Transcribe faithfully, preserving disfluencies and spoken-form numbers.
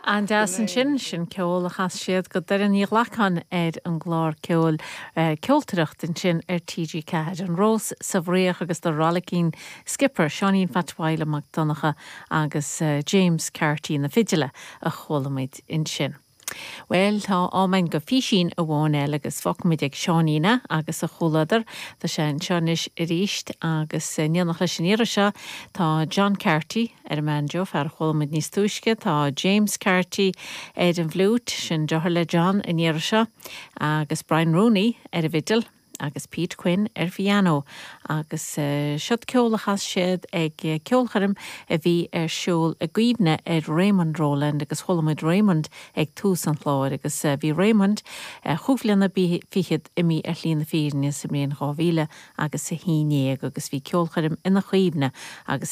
An-deas ansin sin ceol a chas siad do Dhoireann Ní Ghlacáin ar an gclár ceoil uh, ceoltaireacht ansin ar TG Ceathair an Rós sa Bhfraoch agus The Rollicking Skipper Seáinín Phat Mhaidhc Mac Donncha agus uh, James Carty na fidile a chuala muid ansin. Well tá am againn do físín amháin eile agus fágfaimid ag Seáinín é agus a chomhluadar Tá sé anseo anois arís agus in éineacht leis an iarraidh seo tá John Carty ar an mbanjo fear a chuala muid níos túisce, tá James Carty ar an bhfliúit sin deartháir le John an iarraidh seo agus Brian Rooney ar an bhfidil agus Pete Quinn ar piano agus uh, siod ceol a chas siad ag uh, ceolchoirm a bhí ar siúl i gcuimhne ar Raymond Rowland agus chuala muid Raymond ag tús an chláir agus uh, bhí Raymond uh, chúig bliana fichead imithe ar shlí na fírinne sa mbliain dhá mhíle agus a haon déag agus bhí ceolchoirm ina chuimhne agus